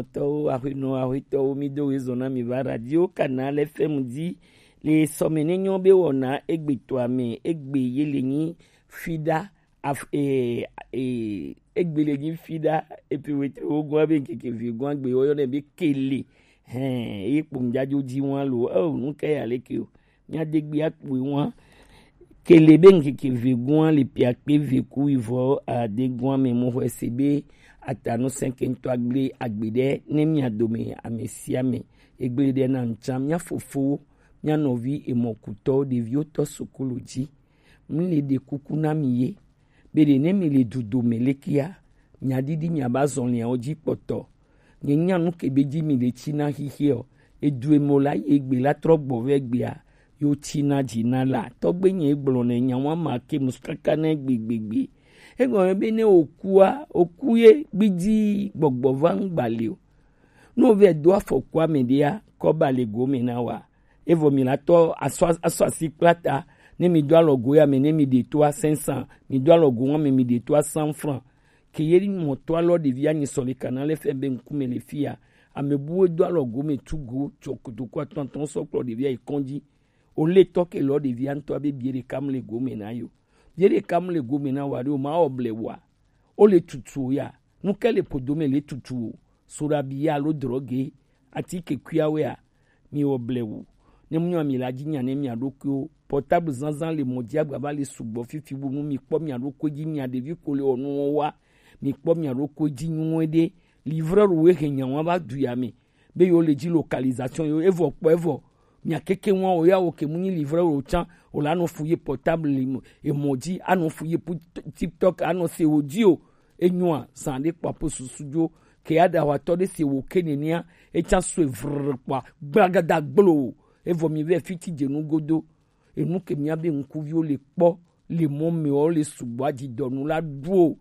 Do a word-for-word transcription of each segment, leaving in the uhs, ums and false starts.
Tɔwo, axwenɔ, axwetɔwo, mi do wezɔn na mi va Radio Canal F M dzi le sɔme ne nyɔ be wɔna egbe toa me, egbe ye le nyi fida af, e, e, egbe le nyi fida epi wetri wo gɔn be nkeke vi gɔn gbe wo yɔ ne be kele. Hɛn, eye kpɔn jajo dzi wan lo. Oh, nu ke ya le ke o. Mia de gbe akpɔe wan. Kele be nkeke ve gɔn le piakpe ve ku ivɔ ade gɔn me mo hwɛ se be atanu sɛnkɛntɔ agble agbe ɖe ne mia dome ame sia ame. Egble ɖe na ŋtsa mia fofowo, mia nɔvi emɔkutɔwo, ɖeviwo tɔ sukulu dzi. Mi le ɖe kuku na mi ye. Be ɖe ne mi le dudo me lekea, mia ɖiɖi mia ba zɔnliawo dzi kpɔtɔ. Nye nya nu ke be dzi mi le tsi na xixeɔ. Edu emo la ye gbe la trɔ gbɔ vɛ gbea, yo tsi na dzi na la. Tɔgbe nye gblɔ ne nya wa ma ke mus kaka ne gbegbegbe. Egɔme be ne okua, oku ye gbidi gbɔgbɔ va ŋgba le o. Ne ovɛ do afɔku ame ɖea, kɔ ba le gome na wa. Evɔ mi la tɔ asɔ asɔ asi kpla ta. Ne mi do alɔgo ya me, ne mi ɖe to a cinq cents, mi do alɔgo wa me, mi ɖe to a cent francs. Ke ye mɔ to alɔ ɖevi anyi sɔ le kana le fɛ be ŋkume le fia. Ame buwe do alɔgo me tugu tsɔ kotoku atɔntɔn sɔ kplɔ ɖevi ayi kɔndzi. O le tɔ ke lɔ ɖevi antɔ be bie ɖeka mu le gome na yo. Bie ɖeka mu le gome na wa ɖe o ma ɔ ble wa. O le tutu o ya. Nu ke le podo me le tutu o. Soɖabi alo droge, atike kuiawoea, mi wɔ blewu. Ne mu nyɔ mi la dzi nya ne mia ɖokuiwo. Portable zanzan le mɔ dzi agbava le sugbɔ fifi bu nu mi kpɔ mia ɖokui dzi mia ɖevi ko le wɔ nuwo wa. Mi kpɔ mia ɖokui dzi nyuie ɖe. Livreur wo he nya wa va du ya me. Be yo le dzi localisation yo evɔ kpɔ evɔ. Mia keke wa o ya o ke mu nyi livreur o tsan o la nɔ fu ye portable emɔ dzi anɔ fu ye pu TikTok anɔ se o dzi o. Enyoa, zan ɖe kpa po susu dzo. Ke ya ɖa watɔ ɖe se wo ke nenia, etsa sue vrr kpa, gblagada gblo. Evɔ mi vɛ fiti dze nu godo. Enu ke mia be ŋkuviwo le kpɔ, le mɔ me o le sugbɔ adzi dɔ nu la ɖuo.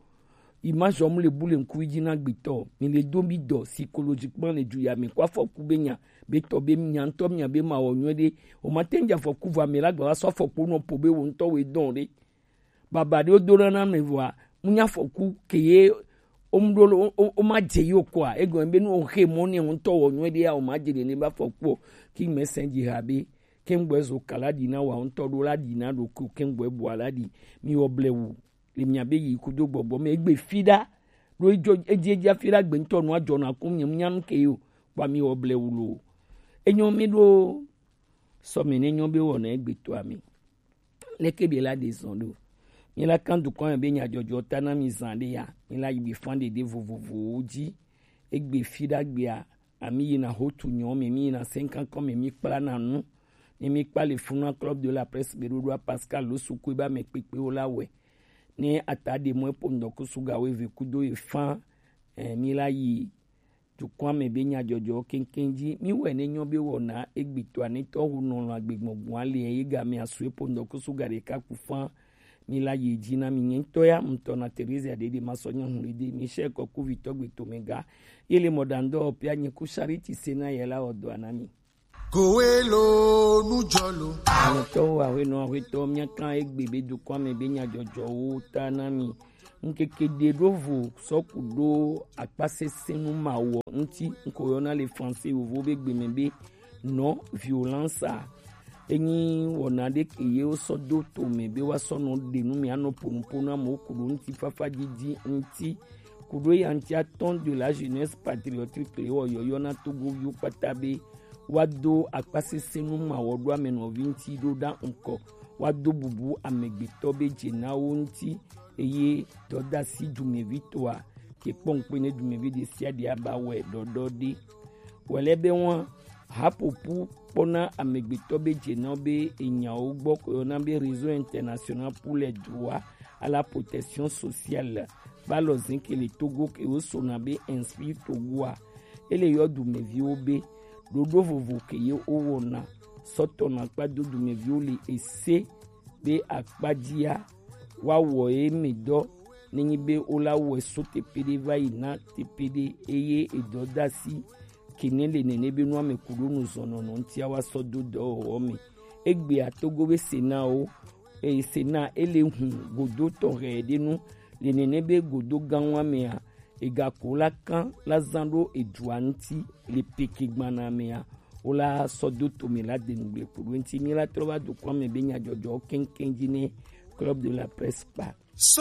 Image ɔmu le bu le ŋkuvi dzi na gbetɔ. Mi le do mi dɔ psychologiquement le du ya mi kɔ afɔku be nya, be tɔ be nya ŋutɔ mia be ma wɔ nyuie ɖe. O ma te ŋdza afɔku va me la gba va sɔ afɔku nɔ po be wo ŋutɔ wo dɔn ɖe. Baba ɖe wodo na na me vɔa, mu nya afɔku ke ye o mu ɖo lo o ma dze yi o kɔa, egɔme be nu o xe mɔ ne ŋutɔ wɔ nyuie ɖe ya o ma dze ɖe ne ba afɔku o. Ki me sɛn dzi ha be, ke ŋgbɔ zo kala ɖi na wa ŋutɔ ɖo la ɖi na ɖo ko ke ŋgbɔ bua la ɖi. Mi wɔ blewu le mia be yi kudo gbɔgbɔ me egbe fi ɖa. Ɖo edzo edzi edzi afi ɖa gbe ŋutɔ nua dzɔ na ku mi nya nu ke yo. Kpa mi wɔ blewu lo. Enyo mi ɖo sɔme ne nyo be wɔ na egbe to ami. Leke be la ɖe zɔn ɖo? Mi la kan dukɔ be nyadzɔdzɔ ta na mi zan ɖe ya. Mi la yi bi fan ɖeɖe vovovowo dzi. Egbe fi ɖa gbea, ami yina hotu nyɔ me, mi yina senkan kɔ me, mi kpla na nu. Ne mi kpa le funa club de la presse be ɖoɖoa Pascal lo sukui ba me kpekpewo la wɛ. Ne ata ɖe mɔ epo ŋdɔkusu ga wo eve kudo ye fan, eh, mi la yi dukɔa me be nyadzɔdzɔ keŋkeŋ dzi. Mi wɛ ne nyɔ be wɔna egbetɔa ne tɔ ho nɔlɔ agbegbɔgbɔa le ye ga me asu epo ŋdɔkusu ga ɖeka ku fan. Mi la yi dzi na mi nye ŋutɔ ya ŋutɔ na Teresa ɖeɖe ma sɔ nye hu ɖeɖe mi sɛ kɔ kuvitɔ gbe to me ga. Ye le mɔ ɖa ŋdɔ pia nye ku Charity se na ye la wɔ dɔa na mi. Kowe lo nujɔ lo. Ametɔwo aƒenɔ aƒetɔ míaka egbe be dukɔa me be nyadzɔdzɔwo ta na mi. Ŋkeke ɖe ɖo vo sɔ ku ɖo akpasesẽnu mawɔ ŋuti, ŋkɔ yɔna le français yovo be gbe me be non violence a. Enyi wɔna ɖe ke ye wosɔ do to me be woasɔ nɔ ɖe nu me anɔ ponuponu amewo ku ɖo ŋutifafa didi ŋuti. Ku ɖo ya ŋuti atɔn de la jeunesse patriotique le wɔ yɔyɔ na Togoviwo kpata be woado akpasesẽnu mawɔɖoame nɔvi ŋuti ɖo ɖa ŋkɔ, woado bubu amegbetɔ be dzenawo ŋuti, eye dɔdasi dumevitɔa ke kpɔ ŋukpe ne dumevi ɖe sia ɖe aba wɛ ɖɔɖɔ ɖe. Wɛlɛ be ŋua, haƒoƒu kpɔna amegbetɔ be dzenawo be enyawo gbɔ ko yɔna be Réseau International pour les Droits à la Protection Sociale. Ba lɔ zin ke le Togo ke wo sona be Inspire Togoa. Ele yɔ dumeviwo be ɖoɖo vovo ke ye wo wɔna sɔtɔ na kpa do dumeviwo le ese be akpadzia woawɔ ye me dɔ nenyi be wola wɔe so teƒe ɖe va yi na teƒe ɖe eye edɔdasi ke ne le nene be nua me ku ɖo nu zɔnɔnɔ ŋutia woasɔ do dɔwɔwɔ me. Egbea Togo be Sénat wo eye Sénat ele hu godo tɔxɛ ɖe nu le nene be godo gã wa mea Ega ko la kan la zan ɖo ejua ŋuti le peke gbana mea, wo la sɔ do to mi la de nugble ko ɖo ŋuti mi la trɔ va do kɔ me be nyadzɔdzɔ keŋkeŋ dzi ne Club de la Presse kpa.